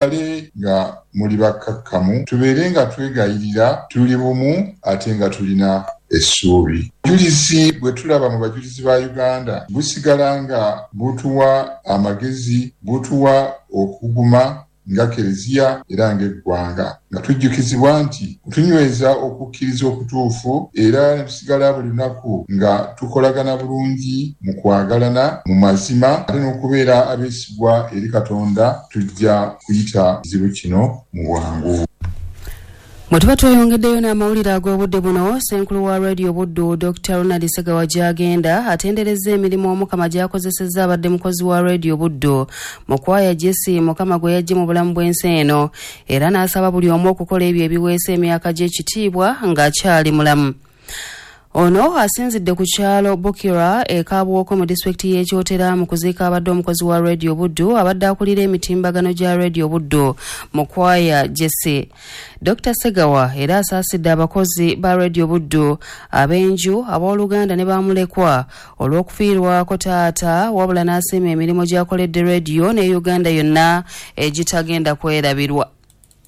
Musigale nga muli bakkakkamu, tubeere nga twegayirira, tuli bumu ate nga tulina essuubi. Obujulizi bwe tulaba mu bajulizi ba Uganda busigala nga butuwa amagezi, butuwa okuguma nga Kereziya era ng'eggwanga, nga tujjukizibwa nti tunyweza okukkiriza okutuufu era ne tusigala buli lunaku nga tukolagana bulungi mu kwagalana, mu mazima ate n'okubeera abeesigwa eri Katonda, tujja kuyita kizibu kino mu bwangu. Bwe tuba tweyongeddeyo n'amawulire ag'obudde buno, Ssenkulu wa Radio Buddu, Dokita Ronald Ssegawa Gyagenda atenderezza emirimu Omukama gy'akozesezza abadde mukozi wa Radio Buddu Mukwaya Jesse Mukama gwe yaggye mu bulamu bw'ensi eno era n'asaba buli omu okukola ebyo ebiweesa emyaka gye ekitiibwa ng'akyali mulamu. Ono asinzidde ku kyalo Bukira e Kabuwoko mu disitulikiti y'e Kyotera mu kuziika abadde omukozi wa Radio Buddu abadde akulira emitimbagano gya Radio Buddu Mukwaya Jesse. Dokita Ssegawa era asaasidde abakozi ba Radio Buddu, ab'enju, abooluganda ne bamulekwa olw'okufiirwako taata wabula n'asiima emirimu gy'akoledde Radio ne Uganda yonna egitagenda kwerabirwa.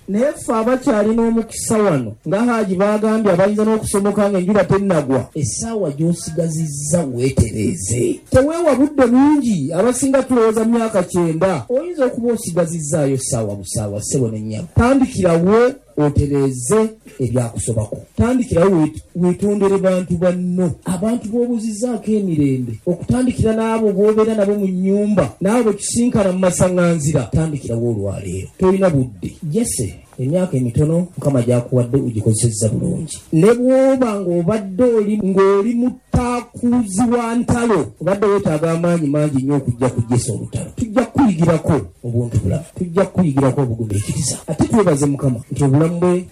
Naye ffe abakyalina omukisa wano nga Haji baagambye abayinza n'okusomoka ng'enjuba tennagwa, essaawa gy'osigazizza weetereeze. Teweewa budde bungi, abasinga tulowooza myaka 90, oyinza okuba osigazizzaayo ssaawa busaawa ssebo ne nnyabo. Tandikirawo otereeze ebyakusobako, tandikirawo weetondere bantu banno, abantu b'obuzizzaako emirembe, okutandikira n'abo b'obeera nabo mu nnyumba, n'abo be tusinkana mu masaŋŋanzira. Tandikirawo olwaleero, tolina budde. Jesse, emyaka emitono Mukama gy'akuwadde ogikozesezza bulungi. Ne bw'oba ng'obadde oli ng'oli mutaakuuzi wa ntalo, obadde weetaaga amaanyi mangi nnyo okujja ku Jesse olutalo. Tujja kukuyigirako obuntu bulamu, tujja kukuyigirako obugumiikiriza. Ate twebaze Mukama nti obulamu bwe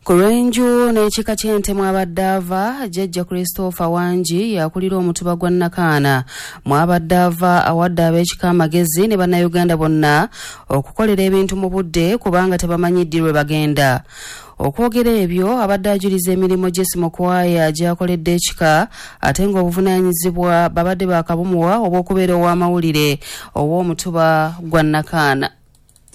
Ku lw'enju n'ekika ky'ente mw'abadde ava, Jjajja Christopher Wangi y'akulira omutuba gwa Nakaana mw'abadde ava awadde ab'ekika amagezi ne Bannayuganda bonna okukolera ebintu mu budde kubanga tebamanyi ddi lwe bagenda. Okwogera ebyo abadde ajuliza emirimu Jesse Mukwaya gy'akoledde ekika ate ng'obuvunaanyizibwa babadde baakabumuwa obw'okubeera ow'amawulire ow'omutuba gwa Nakaana.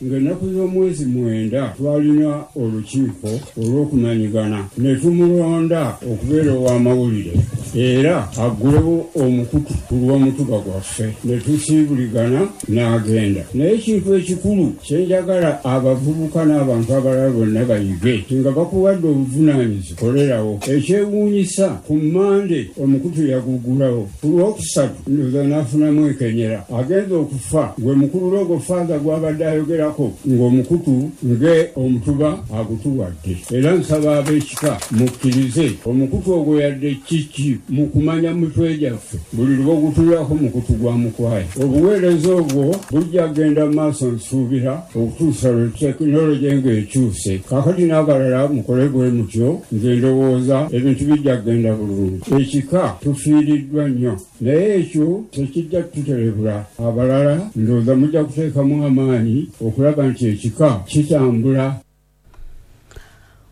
Ng'ennaku z'omwezi 9 twalina olukiiko olw'okumanyigana ne tumulonda okubeera ow'amawulire era aggulewo omukutu ku lw'omutuba gwaffe ne tusiibuligana n'agenda. Naye ekintu ekikulu kye njagala abavubuka n'abantu abalala bonna bayige nti nga bakuwadde obuvunaanyizibwa kolerawo. Ekyewuunyisa ku Mmande omukutu yaguggulawo, ku Lwokusatu ndowooza n'afunamu enkenyera agenda okufa gwe mukulu Logo Father gw'abadde ayogera ng'omukutu nge omutuba agutuwadde. Era nsaba ab'ekika mukkirize omukutu ogwo yadde kiki mu kumanya mitwe gyaffe buli lw'ogutulako mukutu gwa Mukwaya. Obuweereza obwo bujja kugenda mu maaso nsuubira okutuusa lwe tekinologi ng'ekyuse. Kaakati n'abalala mukole bwe mutyo, nze ndowooza ebintu bijja kugenda bulungi. Ekika tufiiriddwa nnyo, naye ekyo tekijja kututerebula. Abalala ndowooza mujja kuteekamu amaanyi okulaba nti ekika kitambula.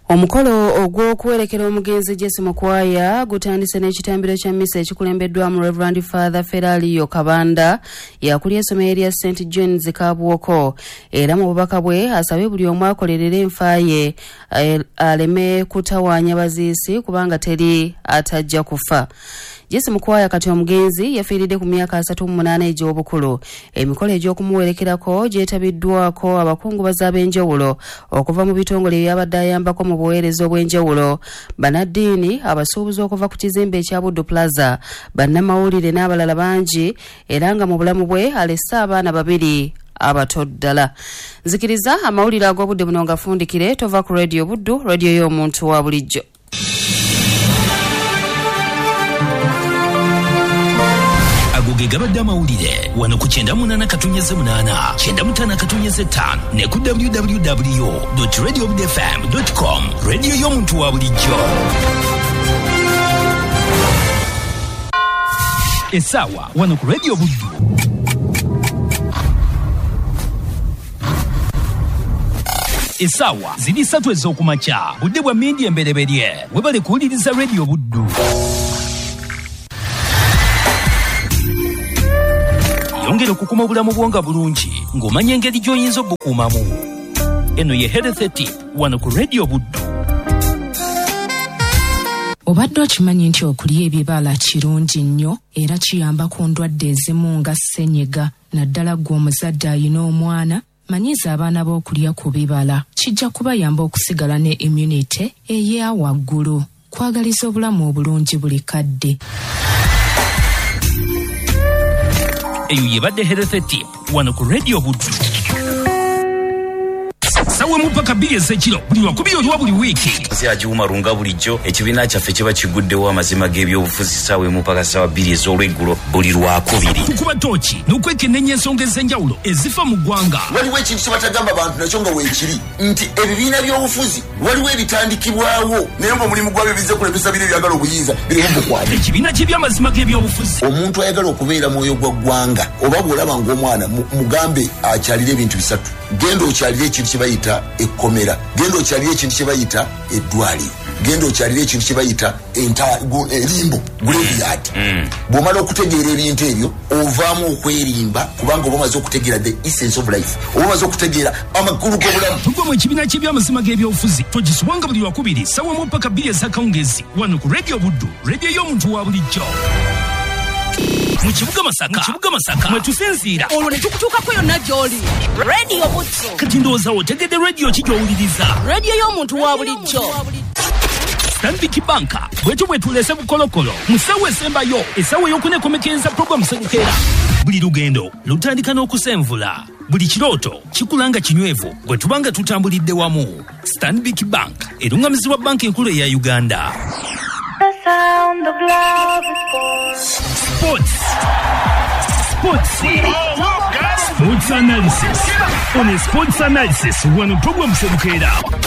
Omukolo ogw'okuwerekera omugenzi Jesse Mukwaya gutandise n'ekitambiro kya mmisa ekikulembeddwamu Reverend Father Feralio Kabanda yakulya essomero erya St John's Kabuwoko era mu bubaka bwe asabye buli omu akolerere enfa ye aleme kutawaanya baziisi kubanga teri atajja kufa. Jesse Mukwaya kati omugenzi yafiiridde ku myaka 38 egy'obukulu. Emikolo egy'okumuwerekerako gyetabiddwako abakungubazi ab'enjawulo okuva mu bitongole ebyabadde ayambako mu buweereza obw'enjawulo, bannaddiini, abasuubuzi okuva ku kizimbe ekya Buddu Plaza, bannamawulire n'abalala bangi era nga mu bulamu bwe alese abaana 2 abato ddala. Nzikiriza amawulire ag'obudde buno ngafundikire, tova ku Radio Buddu, radio y'omuntu wa bulijjo. Ago ge gabadde amawulire wano ku 98.8, 95.5 ne ku www.radiobudfm.com, radio y'omuntu wa bulijjo. Essaawa wano ku Radio Buddu. Essaawa ziri 3 ez'okumakya, budde bwa mmindi embereberye. Webale kuwuliriza Radio Buddu. Yongera okukuma obulamu bwo nga bulungi ng'omanya engeri gy'oyinza obukuumamu. Eno ye Health Tip wano ku Radio Buddu. Obadde okimanyi nti okulya ebibala kirungi nnyo era kiyamba ku ndwadde ezimu nga ssenyiga, naddala ggwe omuzadde ayina omwana, manyiza abaana b'okulya ku bibala. Kijja kubayamba okusigala ne immunity eya waggulu. Kwagaliza obulamu obulungi buli kadde. Eyo yebadde Health Tip wano ku Radio Buddu. Sawe mupaka 2 ez'ekiro buli lwakubiri olwa buli wiiki. Agiwuma runga bulijjo ekibiina kyaffe kiba kiguddewo amazima g'ebyobufuzi ssaawa emu paka ssaawa 2 ez'olweggulo buli lwakubiri. Tukuba tooki n'okwekenneenya ensonga ez'enjawulo ezifa mu ggwanga. Waliwo ekintu kye batagamba bantu nakyo nga weekiri nti ebibiina by'obufuzi waliwo ebitandikibwawo naye ng'omulimu gwabyo bizze kulemesa biri ebyagala obuyinza birimu bukwate. Ekibiina ky'ebyamazima g'ebyobufuzi. Omuntu ayagala okubeera mwoyo gwa ggwanga oba bw'olaba ng'omwana mugambe akyalire ebintu bisatu. Genda okyalire ekintu kye bayita ekkomera, genda okyalire ekintu kye bayita eddwaliro, genda okyalire ekintu kye bayita erimbo graveyard. Bw'omala okutegeera ebintu ebyo ovaamu okwerimba kubanga oba omaze okutegeera the essence of life, oba omaze okutegeera amakulu g'obulamu. Tugwa mu ekibiina ky'ebyamazima g'ebyobufuzi togisubwanga buli lwakubiri ssaawa emu paka 2 ez'akawungeezi wano ku Radio Buddu, radio y'omuntu wa bulijjo. Mu kibuga Masaka mwe tusinziira olwo ne tukutuukako yonna gy'oli. Radio Buddu. Kati ndowooza otegedde radio ki gy'owuliriza? Radio y'omuntu wa bulijjo. Stanbic Bank bwetyo bwe tulese bukolokolo mu ssaawa esembayo essaawa ey'okunekomekereza puroguramu Sebukeera. Buli lugendo lutandika n'okusenvula, buli kirooto kikula nga kinywevu bwe tuba nga tutambulidde wamu. Stanbic Bank erungamizibwa banka enkulu eya Uganda. Sports. Sports. Sports analysis. On a sports analysis, wano program Sebukeera.